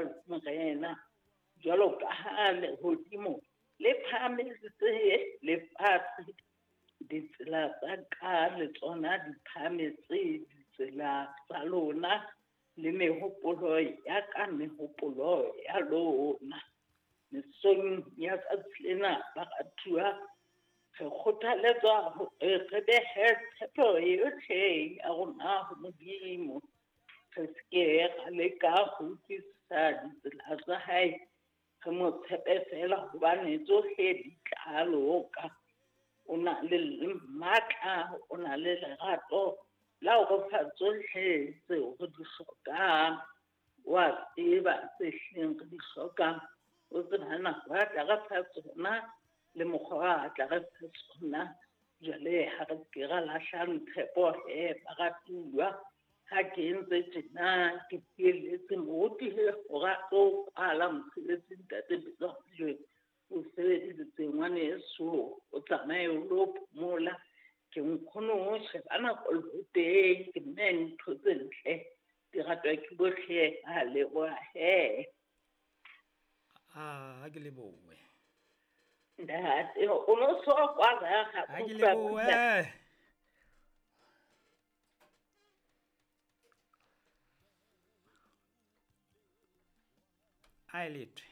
rialo Morena. Jwalo ka ha lehodimo le phahametse lefatshe, ditsela tsa ka le tsona di phahametse ditsela tsa lona, le mehopolo ya ka mehopolo ya lona. Mesong ya tsatsi lena, baratuwa, re kgothaletswa hore re behe tshepo yohle ya rona ho Modimo. Re se ke ra leka ho utlwisisa ditsela tsa hae, re mo tshepe feela hobane tsohle di tla loka. O na le matla, o na le lerato la ho re fa tsohle tseo re di hlokang. Wa tseba tse hlileng re di hlokang, o tseba nako a tla re fa tsona le mokgwa a tla re fa tsona. Jwale ha re ke ra lahlang tshepo he, baratuwa. Ha ke entse tjena, ke fielletse moruti hore a tlo kwala mosebetsi. Ntate Betsa, o sebeditse ngwaneso, o tsamaye o lo phomola. Ke nkgono, sheba nako le teng, ke mme ntho tse ntle di ratwa ke bohle. A leboha he. A ha ke lebohe. Ntate, o no so kwala ha ke lebohe. A e lethwe.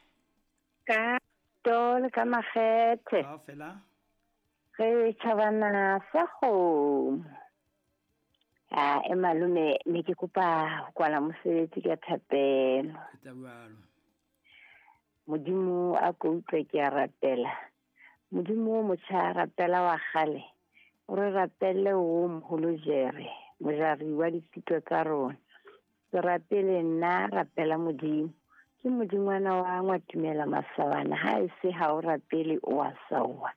Ka to le ka makgethe. Kaofela. Re tjhabana sa kgomo. A e malome, ne ke kopa ho kwala mosebetsi ka thapelo. Etsa jwalo. Modimo a ko utlwe ke a rapela. Modimo o motjha, rapela wa kgale. O re rapelle o moholo jere, mojari wa ditshito tsa rona. Se rapele nna, rapela Modimo. Ke modingwana wa ngwatumela masabana, ha e se ha o rapele o a sawa.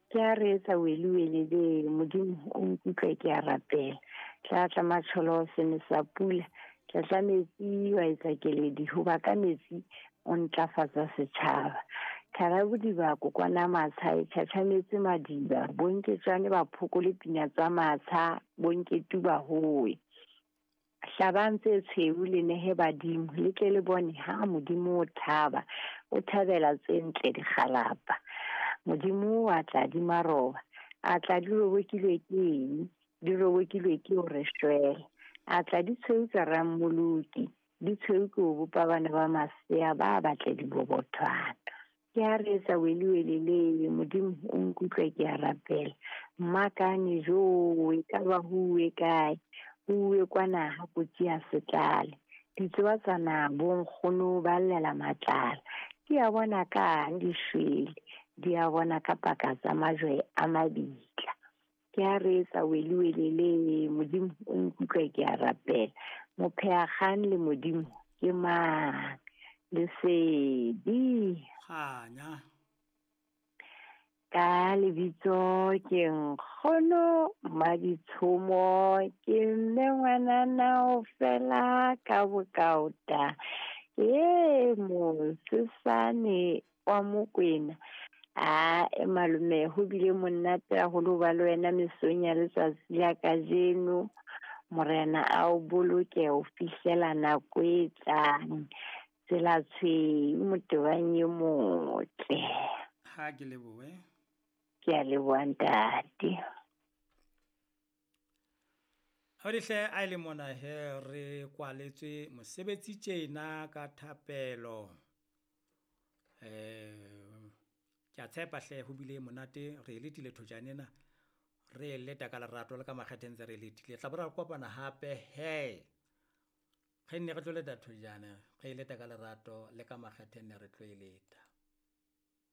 Ke a re etsa wele wele le Modimo o nkutlwe ke a rapela. Tla tla matsholo se ne sa pula, tla tla metsi wa etsa keledi, hoba ka metsi o ntlafatsa setjhaba. Thara bodiba kokwana matsha e tjhatjhametse madiba, bonketswane ba phokole pina tsa matsha, bonketu ba howe. Hlabang tse tshweu le nehe badimo, le tle le bone ha Modimo o thaba, o thabela tse ntle dikgalapa. Modimo wa tla di maroba, a tla di robokilwe ke eng, di robokilwe ke o re shwele. A tla di tshweu tsa rammoloki, di tshweu ke ho bopa bana ba masea ba batle dibobothwana. Ke a re etsa wele wele le Modimo o nkutlwe ke a rapela. Mmakane jo, e ka ba huwe kae, huwe kwana ha kotsi ya setlale. Ditsoa tsa na bonkgono ba llela matlala. Di a bona kang di shwele, di a bona ka paka tsa majwe a mabitla. Ke a re etsa wele wele le Modimo o nkutlwe ke a rapela. Mopheakgang le Modimo ke mang? Lesedi. Kganya. Ka lebitso ke nkgono Maditshomo, ke mme ngwanana o fela ka bokaota. Ke mosesane wa Mokwena. A e malome, ho bile monate haholo ba le wena mesong ya letsatsi la kajeno. Morena a o boloke ho fihlela nako e tlang. Tsela tshweu motebang e motle. Ha ke lebohe. Ke a leboha ntate. Hodihle a ile mona he re kwaletswe mosebetsi tjena ka thapelo. Ke a tshepa hle ho bile monate, re letile thojane ena. Re leta ka lerato le ka makgethe ntse re letile. Tla bo ra kopana hape he. Re nne re tlo leta thojane, re leta ka lerato le ka makgethe nne re tlo e leta.